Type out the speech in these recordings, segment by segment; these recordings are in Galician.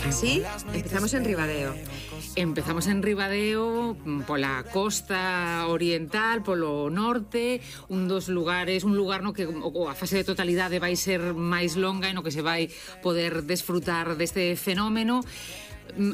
Así, empezamos en Ribadeo. Empezamos en Ribadeo, pola costa oriental, polo norte, un lugar no que a fase de totalidade vai ser máis longa e no que se vai poder desfrutar deste fenómeno.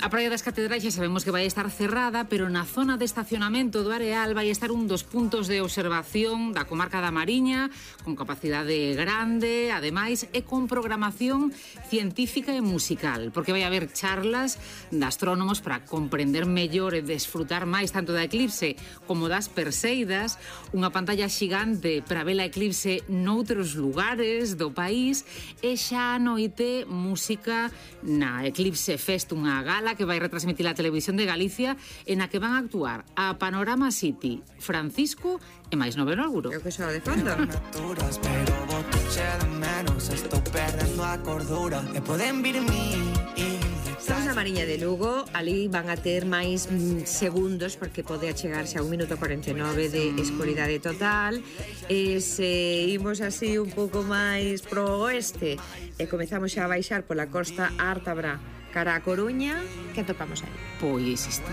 A Praia das Catedrais xa sabemos que vai estar cerrada, pero na zona de estacionamento do Areal vai estar un dos puntos de observación da comarca da Mariña, con capacidade grande, ademais, e con programación científica e musical, porque vai haber charlas de astrónomos para comprender mellor e desfrutar máis tanto da eclipse como das Perseidas, unha pantalla xigante para ver a eclipse noutros lugares do país, e xa a noite música na Eclipse Fest, unha gala que vai retransmitir a Televisión de Galicia, en a que van a actuar a Panorama City, Francisco e máis Noveno Auguro. Creo que soa de fondo. Estamos na Mariña de Lugo, ali van a ter máis segundos porque pode achegarse a 1 minuto 49 de escuridade total. E se imos así un pouco máis pro oeste e comezamos xa a baixar pola costa ártabra cara a Coruña, que atopamos aí? Pois isto.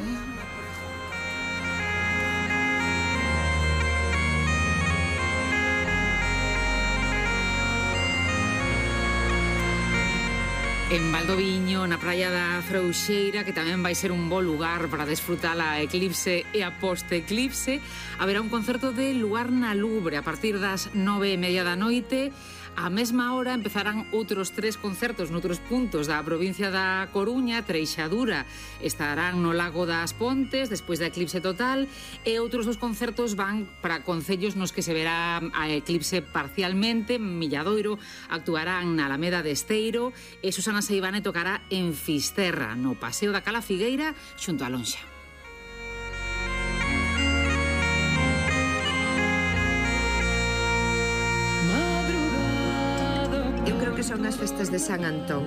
En Valdoviño, na praia da Frouxeira, que tamén vai ser un bo lugar para desfrutar a eclipse e a post-eclipse, haberá un concerto de Luar na Lubre a partir das 9:30 da noite. A mesma hora empezarán outros 3 concertos noutros puntos da provincia da Coruña. Treixadura estarán no Lago das Pontes despois da eclipse total, e outros 2 concertos van para concellos nos que se verá a eclipse parcialmente. Milladoiro actuarán na Alameda de Esteiro e Susana Seivane tocará en Fisterra, no Paseo da Cala Figueira, xunto a Lonxa. Que son as festas de San Antón,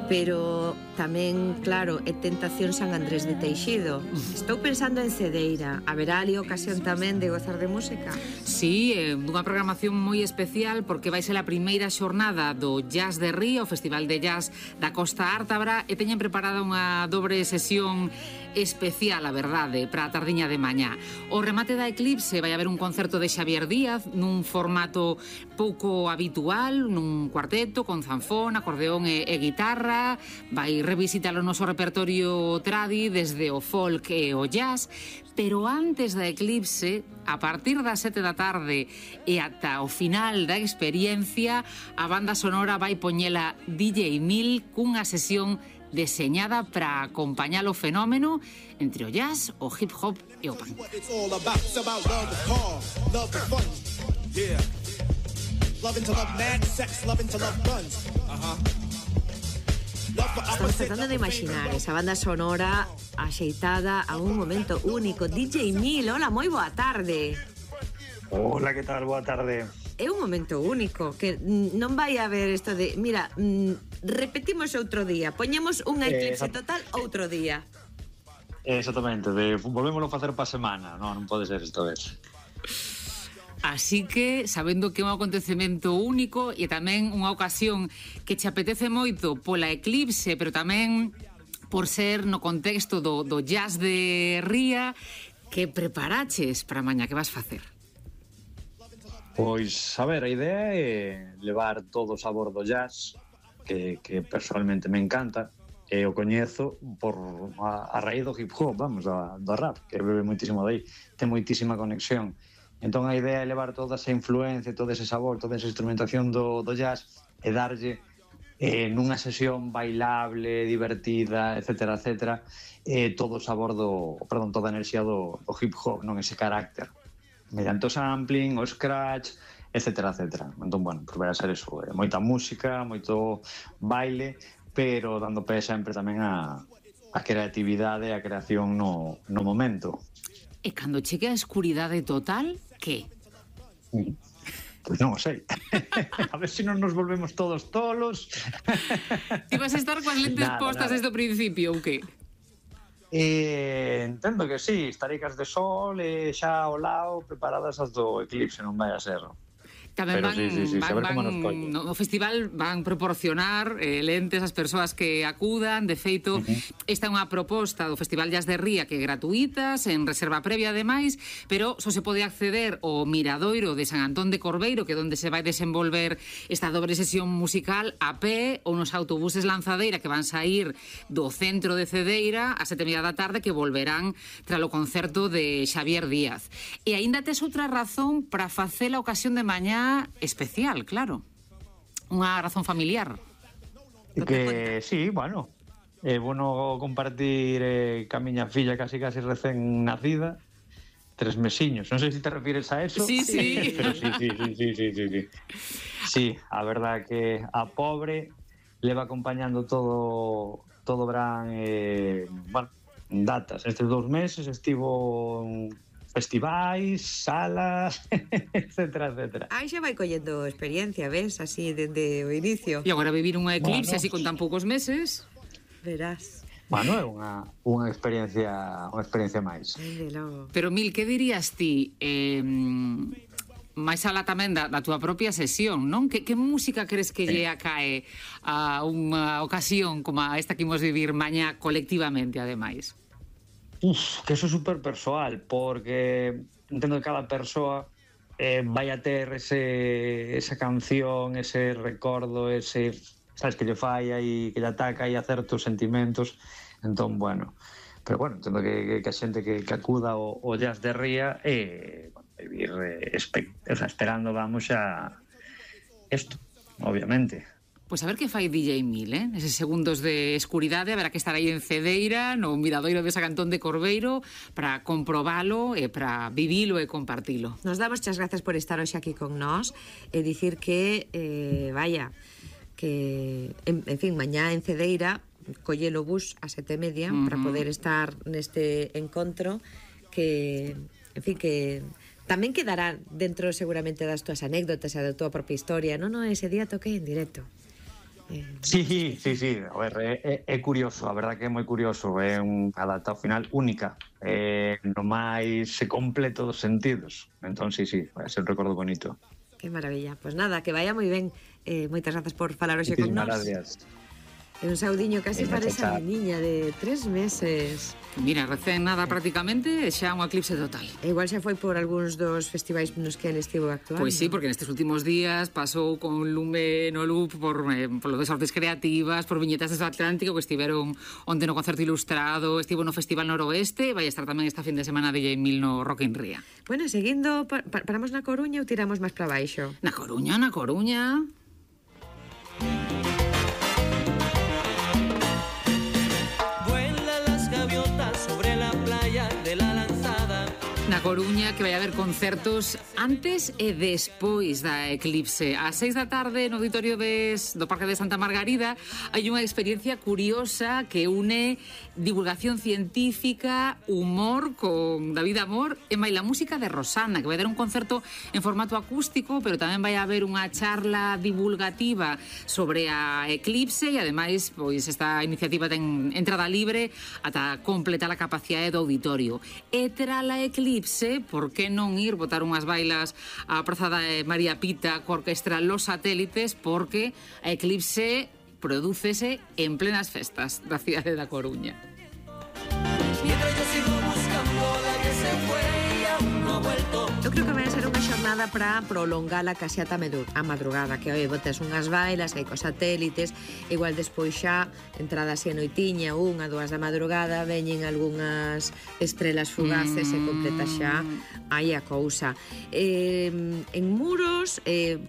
pero tamén, claro, é tentación San Andrés de Teixido. Estou pensando en Cedeira. Haberá ali ocasión tamén de gozar de música? Sí, dunha programación moi especial, porque vai ser a primeira xornada do Jazz de Ría, o Festival de Jazz da Costa Ártabra, e teñen preparada unha dobre sesión especial, a verdade, para a tardiña de mañá. O remate da eclipse vai haber un concerto de Xavier Díaz nun formato pouco habitual, nun cuarteto con zanfón, acordeón e guitarra. Vai revisitar o noso repertorio tradi desde o folk e o jazz, pero antes da eclipse, a partir das 7 da tarde e ata o final da experiencia, a banda sonora vai poñela DJ Mil cunha sesión deseñada para acompañar o fenómeno entre o jazz, o hip hop e o punk. Estamos tratando de imaginar esa banda sonora axeitada a un momento único. DJ Mil, hola, moi boa tarde. Hola, que tal? Boa tarde. É un momento único, que non vai haber isto de, mira, repetimos outro día, poñemos unha eclipse total outro día. Exactamente, volvémoslo a facer pa semana, non pode ser esta vez. Así que, sabendo que é un acontecemento único e tamén unha ocasión que che apetece moito pola eclipse, pero tamén por ser no contexto do jazz de Ría, que preparaches para mañá, que vas facer? Pois, a ver, a idea é levar todo o sabor do jazz, que personalmente me encanta, e o coñezo por a raíz do hip hop, vamos, do rap, que bebe moitísimo dai, ten moitísima conexión. Entón a idea é levar toda esa influencia, todo ese sabor, toda esa instrumentación do jazz e darlle nunha sesión bailable, divertida, etcétera, etcétera, todo o sabor toda a enerxía do hip hop, non ese carácter, mediante o sampling, o scratch, etcétera, etcétera. Entón, bueno, pues vai a ser eso, moita música, moito baile, pero dando pé sempre tamén a creatividade e a creación no momento. E cando chegue a escuridade total, que? Pois non o sei. A ver se non nos volvemos todos tolos. Ti vas a estar coas lentes postas desde o principio, ou que? Entendo que sí, estarei cas de sol e xa ao lado preparadas as do eclipse, non vai a ser. Tamén Pero sí, saber como nos colle. no festival van proporcionar lentes ás persoas que acudan. De feito, esta é unha proposta do Festival Jazz de Ría que é gratuita, sen reserva previa ademais, pero só se pode acceder ao Miradoiro de San Antón de Corveiro, que é onde se vai desenvolver esta dobre sesión musical a pé ou nos autobuses Lanzadeira que van sair do centro de Cedeira a 7:30 da tarde, que volverán tras o concerto de Xavier Díaz. E aínda tes outra razón para facer a ocasión de mañá especial, claro. Unha razón familiar. Que sí, bueno, é bueno compartir ca miña filla casi recén nacida, 3 mesiños. Non sei se te refires a eso. Sí. Pero sí. Sí, a verdad que a pobre leva acompañando todo verán, bueno, datas. Estes 2 meses estivo festivais, salas, etcétera. Aí xa vai collendo experiencia, ves, así dende o inicio. E agora vivir unha eclipse Bueno. así con tan poucos meses. Verás. Bueno, é unha experiencia máis. Dende logo. Pero, Mil, que dirías ti máis alá tamén da túa propia sesión, non? Que música crees que lle acae a unha ocasión como a esta que imos vivir mañá colectivamente, ademais? Que eso é super persoal, porque entendo que cada persoa vai a ter esa canción, ese recordo, ese, sabes, que lle fai aí, que lle ataca aí a certos sentimentos. Entón, bueno, pero bueno, entendo que a xente que acuda ao Jazz de Ría vivir esperando, vamos, a isto, obviamente. Pois a ver que fai DJ Mil, Eses segundos de escuridade, haberá que estar aí en Cedeira, no Miradoiro de San Antón de Corveiro, para comprobalo e para vivilo e compartilo. Nos damos as grazas por estar hoxe aquí con nós e dicir que, en fin, mañá en Cedeira colle o bus a 7:30 para poder estar neste encontro que, en fin, que tamén quedará dentro seguramente das túas anécdotas e da túa propia historia. Non, ese día toquei en directo. Sí. A ver, é curioso, a verdad que é moi curioso. É unha data ao final única, no máis completo dos sentidos. Entón, sí, vai ser un recordo bonito. Que maravilla. Pois nada, que vaya moi ben. Moitas grazas por falar hoxe con nós. Gracias. É un saudiño casi para esa niña de 3 meses. Mira, recén nada prácticamente, xa un eclipse total. Igual xa foi por algúns dos festivais nos que ele estivo actuando. Pois sí, porque nestes últimos días pasou con Lume no Loop por lo de Sortes Creativas, por Viñetas do Atlántico, que estiveron onte no concerto ilustrado, estivo no Festival Noroeste, vai estar tamén esta fin de semana DJ Mil no Rock in Ría. Bueno, seguindo, paramos na Coruña ou tiramos máis para baixo? Na Coruña. Na Coruña, que vai haber concertos antes e despois da eclipse. Ás 6 da tarde no auditorio do Parque de Santa Margarida hai unha experiencia curiosa que une divulgación científica, humor con David Amor e máis la música de Rosana, que vai dar un concerto en formato acústico, pero tamén vai haber unha charla divulgativa sobre a eclipse e ademais pois esta iniciativa ten entrada libre ata completar a capacidade do auditorio. E tras a eclipse, por que non ir botar unhas bailas á Praza da María Pita coa orquestra Los Satélites, porque a eclipse prodúcese en plenas festas da cidade da Coruña. Eu creo que vai ser unha xornada para prolongala casi ata a madrugada, que oi, botes unhas bailas aí cos satélites, igual despois xa entrada así a noitiña, 1, 2 da madrugada, veñen algunhas estrelas fugaces e completa xa aí a cousa. En Muros,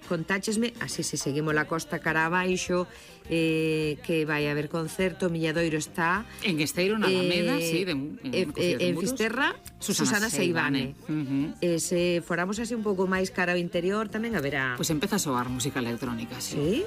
contáchesme, así se seguimos la costa cara abaixo, que vai haber concerto, Milladoiro está en Esteiro, na Alameda, sí, en Fisterra, Susana Seivane. Se foramos así un pouco máis cara ao interior tamén haberá. Pois empeza a soar música electrónica, sí. Sí?